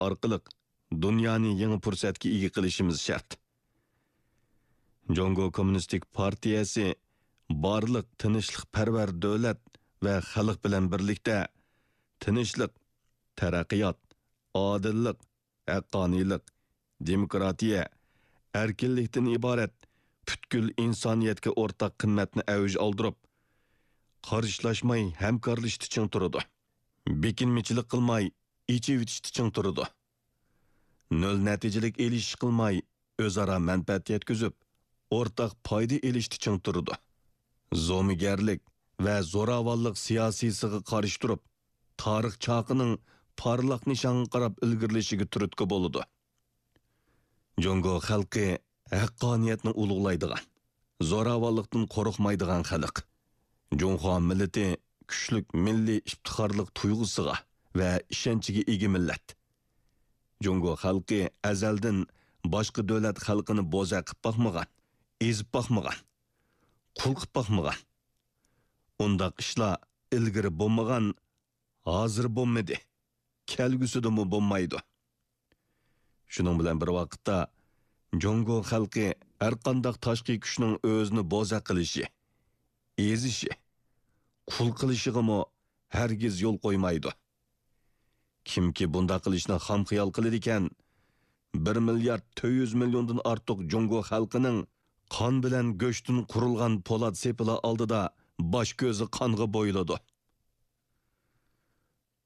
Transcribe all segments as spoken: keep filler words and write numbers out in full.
ئارقىلىق دۇنيانى يېڭى پۇرسەتكە ئىگە قىلىشىمىز شەرت. جۇڭگو كوممۇنىستىك پارتىيەسى بارلىق تىنچلىقپەرۋەر دۆلەت ۋە خەلق بىلەن بىرلىكتە تىنچلىق، تەرەققىيات، ئادىللىق، ھەققانىيلىق، دېموكراتىيە، ئەركىنلىكتىن ئىبارەت پۈتكۈل ئىنسانىيەتكە ئورتاق قىممەتنى ئەۋج ئالدۇرۇپ، قارشىلاشماي ھەمكارلىشىشتا چىڭ تۇرىدۇ. بېكىنمىچىلىك قىلماي ئېچىۋېتىشتە چىڭ تۇرىدۇ. نۆل نەتىجىلىك ئېلىشىش قىلماي، ئۆزئارا مەنپەئەت يەتكۈزۈپ، ئورتاق پايدا ئېلىشتا چىڭ تۇرىدۇ. زومىگەرلىك ۋە زوراۋانلىق سىياسىيسىغا قارشى تۇرۇپ، تارىخ چاقىنىڭ پارلاق نىشانغا قاراپ ئىلگىرىلىشىگە تۈرتكە بولىدۇ. جۇڭگو خەلقى ھەققانىيەتنى ئۇلۇغلايدىغان، زوراۋانلىقتىن قورقمايدىغان خەلق. جۇڭخۇا مىللىتى كۈچلۈك مىللىي ئىپتىخارلىق تۇيغۇسىغا ۋە ئىشەنچىگە ئىگە مىللەت. جۇڭگو خەلقى ئەزەلدىن باشقا دۆلەت خەلقىنى بوزەك قىپ باقمىغان، ئېزىپ باقمىغان، قۇل قىپ باقمىغان. ئۇنداق ئىشلار ئىلگىرى بولمىغان، ھازىر بولمىدى، كەلگۈسىدىمۇ بولمايدۇ. شۇنىڭ بىلەن بىر ۋاقىتتا، جۇڭگو خەلقى ھەرقانداق تاشقى كۈچنىڭ ئۆزىنى بوزەك قىلىشى، ئېزىشى، قۇل قىلىشىغىمۇ ھەرگىز يول قويمايدۇ. كىمكى بۇنداق قىلىشنى خام خىيال قىلىدىكەن، بىر مىليارد تۆت يۈز مىليوندىن ئارتۇق جۇڭگو خەلقىنىڭ قان بىلەن گۆشتىن قۇرۇلغان پولات سېپىلى ئالدىدا باش كۆزى قانغا بويىلىدۇ.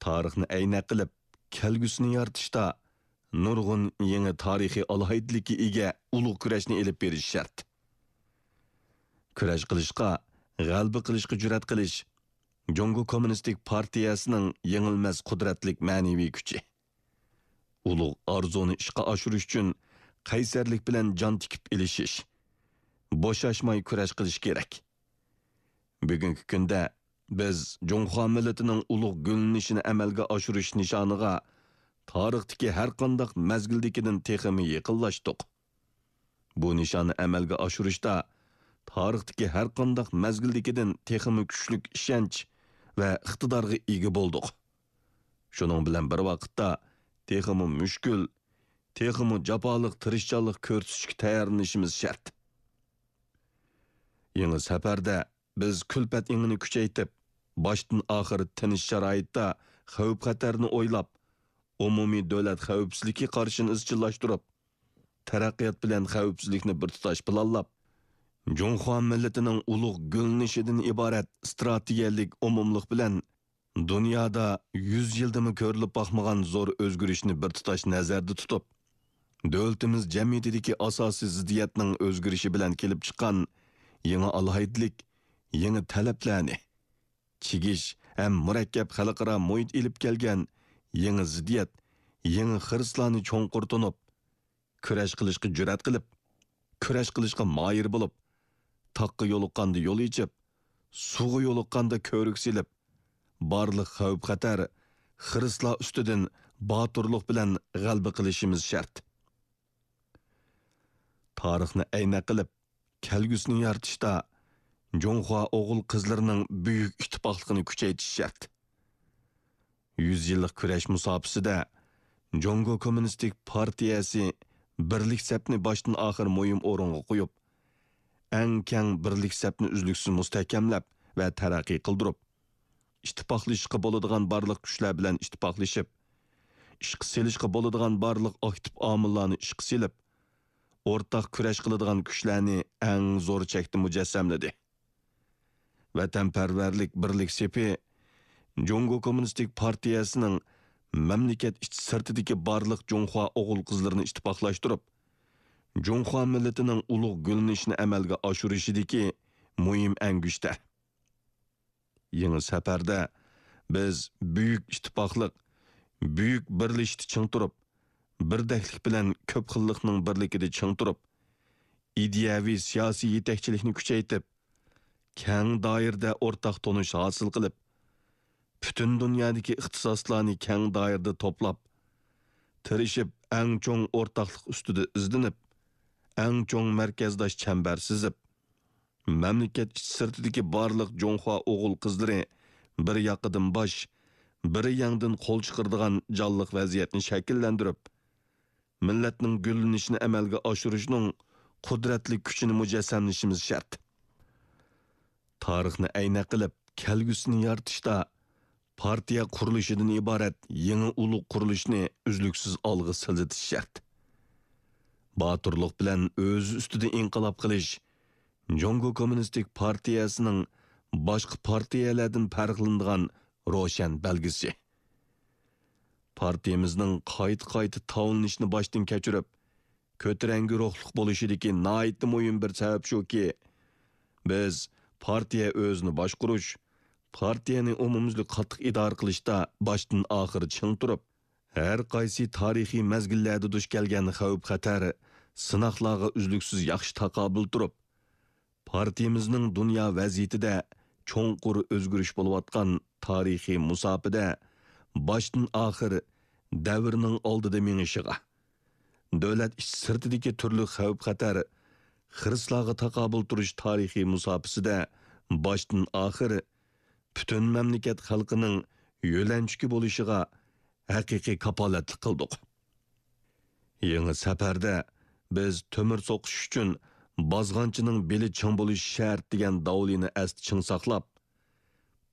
تارىخنى ئەينەك قىلىپ، كەلگۈسىنى يارىتىشتا نۇرغۇن يېڭى تارىخىي ئالاھىدىلىككە ئىگە ئۇلۇغ كۈرەشنى ئېلىپ بېرىش شەرت. كۈرەش قىلىشقا، غەلىبە قىلىشقا جۈرئەت قىلىش جۇڭگو كوممۇنىستىك پارتىيەسىنىڭ يېڭىلمەس قۇدرەتلىك مەنىۋى كۈچى. ئۇلۇغ ئارزۇنى ئىشقا ئاشۇرۇش ئۈچۈن قەيسەرلىك بىلەن جان تىكىپ ئېلىشىش، بوشاشماي كۈرەش قىلىش كېرەك. بۈگۈنكى كۈندە بىز جۇڭخۇا مىللىتىنىڭ ئۇلۇغ گۈللىنىشىنى ئەمەلگە ئاشۇرۇش نىشانىغا تارىختىكى ھەرقانداق مەزگىلدىكىدىن تېخىمۇ يېقىنلاشتۇق. بۇ نىشاننى ئەمەلگە ئاشۇرۇشتا تارىختىكى ھەرقانداق مەزگىلدىكىدىن تېخىمۇ كۈچلۈك ئىشەنچ ۋە ئىقتىدارغا ئىگە بولدۇق. شۇنىڭ بىلەن بىر ۋاقىتتا، تېخىمۇ مۈشكۈل، تېخىمۇ جاپالىق تىرىشچانلىق كۆرسىتىشكە تەييارلىنىشىمىز شەرت. يېڭى سەپەردە بىز كۈلپەت ئېڭىنى كۈچەيتىپ، باشتىن ئاخىر تىنچ شارائىتتا خەۋپ-خەتەرنى ئويلاپ، ئومۇمىي دۆلەت خەۋپسىزلىكى قارىشىنى ئىزچىللاشتۇرۇپ، تەرەققىيات بىلەن خەۋپسىزلىكنى بىر تۇتاش پىلانلاپ، جۇڭخۇا مىللىتىنىڭ ئۇلۇغ گۈللىنىشىدىن ئىبارەت ئىستراتېگىيەلىك ئومۇملۇق بىلەن دۇنيادا يۈز يىلدىمۇ كۆرۈلۈپ باقمىغان زور ئۆزگىرىشنى بىر تۇتاش نەزەردە تۇتۇپ، دۆلىتىمىز جەمئىيىتىدىكى ئاساسىي زىددىيەتنىڭ ئۆزگىرىشى بىلەن كېلىپ چىققان يېڭى ئالاھىدىلىك، يېڭى تەلەپلەرنى، چىگىش ھەم مۇرەككەپ خەلقئارا مۇھىت ئېلىپ كەلگەن يېڭى زىددىيەت، يېڭى خىرىسلارنى چوڭقۇر تونۇپ، كۈرەش قىلىشقا جۈرئەت قىلىپ، كۈرەش قىلىشقا ماھىر بولۇپ، تاغقا يولۇققاندا يول ئېچىپ، سۇغا يولۇققاندا كۆۋرۈك سېلىپ، بارلىق خەۋپ-خەتەر، خىرىسلار ئۈستىدىن باتۇرلۇق بىلەن غەلىبە قىلىشىمىز شەرت. تارىخنى ئەينەك قىلىپ، كەلگۈسىنى يارىتىشتا جۇڭخۇا ئوغۇل-قىزلىرىنىڭ بۈيۈك ئىتتىپاقلىقىنى كۈچەيتىش شەرت. يۈز يىللىق كۈرەش مۇساپىسىدە جۇڭگو كوممۇنىستىك پارتىيەسى بىرلىك سەپنى باشتىن ئاخىر مۇھىم ئورۇنغا قويۇپ، ئەڭ كەڭ بىرلىك سەپنى ئۈزلۈكسىز مۇستەھكەملەپ ۋە تەرەققىي قىلدۇرۇپ، ئىتتىپاقلىشىشقا بولىدىغان بارلىق كۈچلەر بىلەن ئىتتىپاقلىشىپ، ئىشقا سېلىشقا بولىدىغان بارلىق ئاكتىپ ئامىللارنى ئىشقا سېلىپ، ئورتاق كۈرەش قىلىدىغان كۈچلەرنى ئەڭ زور چەكتە مۇجەسسەملىدى. ۋەتەنپەرۋەرلىك بىرلىك سېپى جۇڭگو كوممۇنىستىك پارتىيەسىنىڭ مەملىكەت ئىچى سىرتىدىكى بارلىق جۇڭخۇا ئوغۇل-قىزلىرىنى ئىتتىپاقلاشتۇرۇپ، جۇڭخۇا مىللىتىنىڭ ئۇلۇغ گۈللىنىشىنى ئەمەلگە ئاشۇرۇشىدىكى مۇھىم ئەڭگۈشتەر. يېڭى سەپەردە بىز بۈيۈك ئىتتىپاقلىق، بۈيۈك بىرلىشىشتە چىڭ تۇرۇپ، بىردەكلىك بىلەن كۆپ خىللىقنىڭ بىرلىكىدە چىڭ تۇرۇپ، ئىدىيەۋى سىياسىي يېتەكچىلىكنى كۈچەيتىپ، كەڭ دائىرىدە ئورتاق تونۇش ھاسىل قىلىپ، پۈتۈن دۇنيادىكى ئىختىساسلارنى كەڭ دائىرىدە توپلاپ، تىرىشىپ ئەڭ چوڭ ئورتاقلىق ئۈستىدە ئىزدىنىپ، ئەڭ چوڭ مەركەزداش چەمبەر سىزىپ، مەملىكەت ئىچى سىرتىدىكى بارلىق جۇڭخۇا ئوغۇل-قىزلىرى بىر ياقىدىن باش، بىر يەڭدىن قول چىقىرىدىغان جانلىق ۋەزىيەتنى شەكىللەندۈرۈپ، مىللەتنىڭ گۈللىنىشىنى ئەمەلگە ئاشۇرۇشنىڭ قۇدرەتلىك كۈچىنى مۇجەسسەملىشىمىز شەرت. تارىخنى ئەينەك قىلىپ، كەلگۈسىنى يارىتىشتا پارتىيە قۇرۇلۇشىدىن ئىبارەت يېڭى ئۇلۇغ قۇرۇلۇشنى ئۈزلۈكسىز ئالغا سىلجىتىش شەرت. باتۇرلۇق بىلەن ئۆزى ئۈستىدە ئىنقىلاب قىلىش جۇڭگو كوممۇنىستىك پارتىيەسىنىڭ باشقا پارتىيەلەردىن پەرقلىنىدىغان روشەن بەلگىسى. پارتىيىمىزنىڭ قايتا-قايتا تاۋلىنىشنى باشتىن كەچۈرۈپ، كۆتۈرەڭگۈ روھلۇق بولۇشىدىكى ناھايىتى مۇھىم بىر سەۋەب شۇكى، بىز پارتىيە ئۆزىنى باشقۇرۇش، پارتىيەنى ئومۇميۈزلۈك قاتتىق ئىدارە قىلىشتا باشتىن ئاخىر چىڭ تۇرۇپ، ھەر قايسى تارىخىي مەزگىللەردە دۇچ كەلگەن خەۋپ-خەتەر، سىناقلارغا ئۈزلۈكسىز ياخشى تاقابىل تۇرۇپ، پارتىيىمىزنىڭ دۇنيا ۋەزىيىتىدە چوڭقۇر ئۆزگىرىش بولۇۋاتقان تارىخىي مۇساپىدە باشتىن ئاخىر دەۋرنىڭ ئالدىدا مېڭىشىغا، دۆلەت ئىچ سىرتىدىكى تۈرلۈك خەۋپ-خەتەر، خىرىسلارغا تاقابىل تۇرۇش تارىخىي مۇساپىسىدە باشتىن ئاخىر پۈتۈن مەملىكەت خەلقىنىڭ يۆلەنچۈكى بولۇشىغا ھەقىقىي كاپالەتلىك قىلدۇق. يېڭى سەپەردە بىز تۆمۈر سوقۇش ئۈچۈن بازغانچىنىڭ بېلى چىڭ بولۇشى شەرت دېگەن داۋلىنى ئەستە چىڭ ساقلاپ،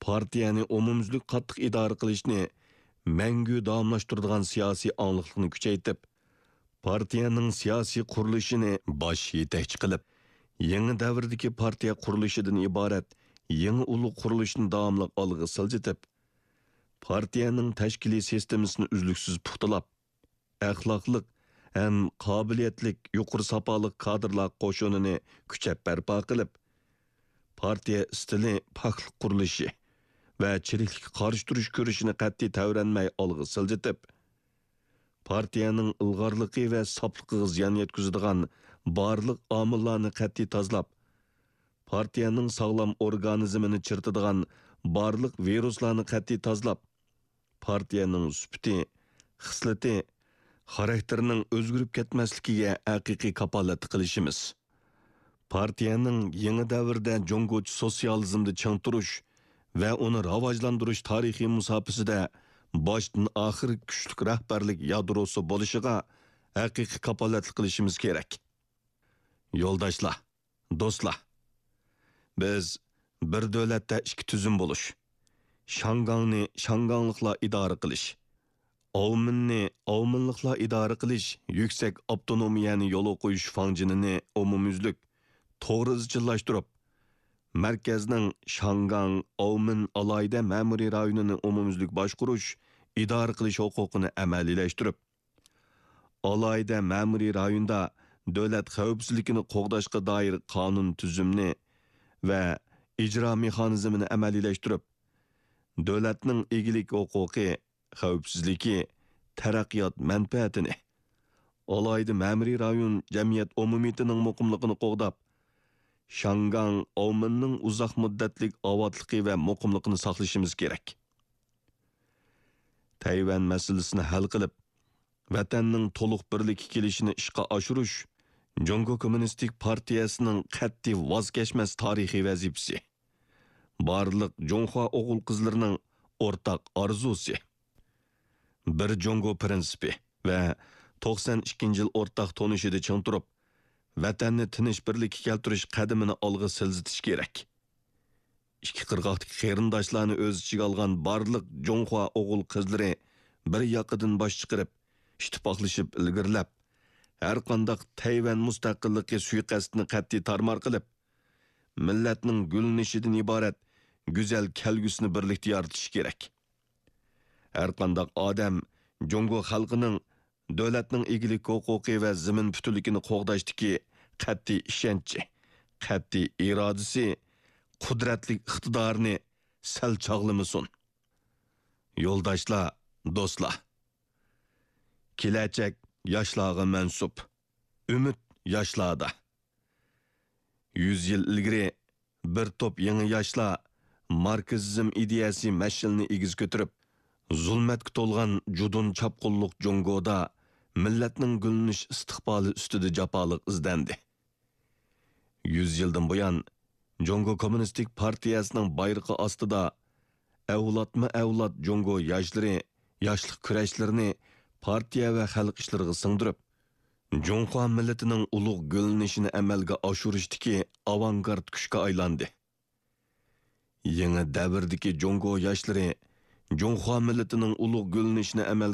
پارتىيەنى ئومۇميۈزلۈك قاتتىق ئىدارە قىلىشنى مەڭگۈ داۋاملاشتۇرىدىغان سىياسىي ئاڭلىقلىقنى كۈچەيتىپ، پارتىيەنىڭ سىياسىي قۇرۇلۇشىنى باش يېتەكچى قىلىپ، يېڭى دەۋردىكى پارتىيە قۇرۇلۇشىدىن ئىبارەت يېڭى ئۇلۇغ قۇرۇلۇشنى داۋاملىق ئالغا سىلجىتىپ، پارتىيەنىڭ تەشكىلىي سىستېمىسىنى ئۈزلۈكسىز پۇختىلاپ، ئەخلاقلىق ھەم قابىلىيەتلىك يۇقىرى ساپالىق كادىرلار قوشۇنىنى كۈچەپ بەرپا قىلىپ، پارتىيە ئىستىلى پاكلىق قۇرۇلۇشى ۋە چىرىكلىككە قارشى تۇرۇش كۈرىشىنى قەتئىي تەۋرەنمەي ئالغا سىلجىتىپ، پارتىيەنىڭ ئىلغارلىقى ۋە ساپلىقىغا زىيان يەتكۈزىدىغان بارلىق ئامىللارنى قەتئىي تازىلاپ، پارتىيەنىڭ ساغلام ئورگانىزمىنى چىرىتىدىغان بارلىق ۋىرۇسلارنى قەتئىي تازىلاپ، پارتىيەنىڭ سۈپىتى، خىسلىتى، خاراكتېرىنىڭ ئۆزگىرىپ كەتمەسلىكىگە ھەقىقىي كاپالەتلىك قىلىشىمىز. پارتىيەنىڭ يېڭى دەۋردە جۇڭگوچە سوتسىيالىزمدا چىڭ تۇرۇش ۋە ئۇنى راۋاجلاندۇرۇش تارىخىي مۇساپىسىدە باشتىن ئاخىر كۈچلۈك رەھبەرلىك يادروسى بولۇشىغا ھەقىقىي كاپالەتلىك قىلىشىمىز كېرەك. يولداشلار، دوستلار، بىز بىر دۆلەتتە ئىككى تۈزۈم بولۇش، شاڭگاڭنى شاڭگاڭلىقلار ئىدارە قىلىش، ئاۋمېننى ئاۋمېنلىقلار ئىدارە قىلىش يۈكسەك ئاپتونومىيەنى يولغا قويۇش فاڭجېنىنى ئومۇميۈزلۈك، توغرا ئىزچىللاشتۇرۇپ، مەركەزنىڭ شاڭگاڭ، ئاۋمېن ئالاھىدە مەمۇرىي رايونىنى ئومۇميۈزلۈك باشقۇرۇش، ئىدارە قىلىش ھوقۇقىنى ئەمەلىيلەشتۈرۈپ، ئالاھىدە مەمۇرىي رايوندا دۆلەت خەۋپسىزلىكىنى قوغداشقا دائىر قانۇن تۈزۈمنى ۋە ئىجرا مېخانىزمىنى ئەمەلىيلەشتۈرۈپ، دۆلەتنىڭ ئىگىلىك ھوقۇقى، خەۋپسىزلىكى، تەرەققىيات مەنپەئەتىنى، ئالاھىدە مەمۇرىي رايون جەمئىيەت ئومۇمىيىتىنىڭ مۇقىملىقىنى قوغداپ، شاڭگاڭ، ئاۋمېننىڭ ئۇزاق مۇددەتلىك ئاۋاتلىقى ۋە مۇقىملىقىنى ساقلىشىمىز كېرەك. تەيۋەن مەسىلىسىنى ھەل قىلىپ، ۋەتەننىڭ تولۇق بىرلىككە كېلىشىنى ئىشقا ئاشۇرۇش جۇڭگو كوممۇنىستىك پارتىيەسىنىڭ قەتئىي ۋاز كەچمەس تارىخىي ۋەزىپىسى، بارلىق جۇڭخۇا ئوغۇل-قىزلىرىنىڭ ئورتاق ئارزۇسى. بىر جۇڭگو پىرىنسىپى ۋە توقسان ئىككىنچى يىل ئورتاق تونۇشىدا چىڭ تۇرۇپ، ۋەتەننى تىنچ بىرلىككە كەلتۈرۈش قەدىمىنى ئالغا سىلجىتىش كېرەك. ئىككى قىرغاقتىكى قېرىنداشلارنى ئۆز ئىچىگە ئالغان بارلىق جۇڭخۇا ئوغۇل-قىزلىرى بىر ياقىدىن باش چىقىرىپ، ئىتتىپاقلىشىپ ئىلگىرىلەپ، ھەرقانداق تەيۋەن مۇستەقىللىقى سۇيىقەستىنى قەتئىي تارمار قىلىپ، مىللەتنىڭ گۈللىنىشىدىن ئىبارەت گۈزەل كەلگۈسىنى بىرلىكتە يارىتىشى كېرەك. ھەرقانداق ئادەم جۇڭگو خەلقىنىڭ دۆلەتنىڭ ئىگىلىك ھوقۇقى ۋە زېمىن پۈتۈنلۈكىنى قوغداشتىكى قەتئىي ئىشەنچى، قەتئىي ئىرادىسى، قۇدرەتلىك ئىقتىدارىنى سەل چاغلىمىسۇن. يولداشلار، دوستلار! كېلەچەك ياشلارغا مەنسۇپ. ئۈمىد ياشلاردا. يۈز يىل ئىلگىرى بىر توپ يېڭى ياشلار ماركسىزم ئىدىيەسى مەشئىلىنى ئېگىز كۆتۈرۈپ، زۇلمەتكە تولغان جۇدۇن چاپقۇنلۇق جۇڭگودا مىللەتنىڭ گۈللىنىش ئىستىقبالى ئۈستىدە جاپالىق ئىزدەندى. يۈز يىلدىن بۇيان، جۇڭگو كوممۇنىستىك پارتىيەسىنىڭ بايرىقى ئاستىدا ئەۋلادمۇ ئەۋلاد جۇڭگو ياشلىرى ياشلىق كۈرەشلىرىنى پارتىيە ۋە خەلق ئىشلىرىغا سىڭدۈرۈپ، جۇڭخۇا مىللىتىنىڭ ئۇلۇغ گۈللىنىشىنى ئەمەلگە ئاشۇرۇشتىكى ئاۋانگارت كۈچكە ئايلاندى. يېڭى دەۋردىكى جۇڭگو ياشلىرى جۇڭخۇا مىللىتىنىڭ ئۇلۇغ گۈللىنىشىنى ئەمەلگە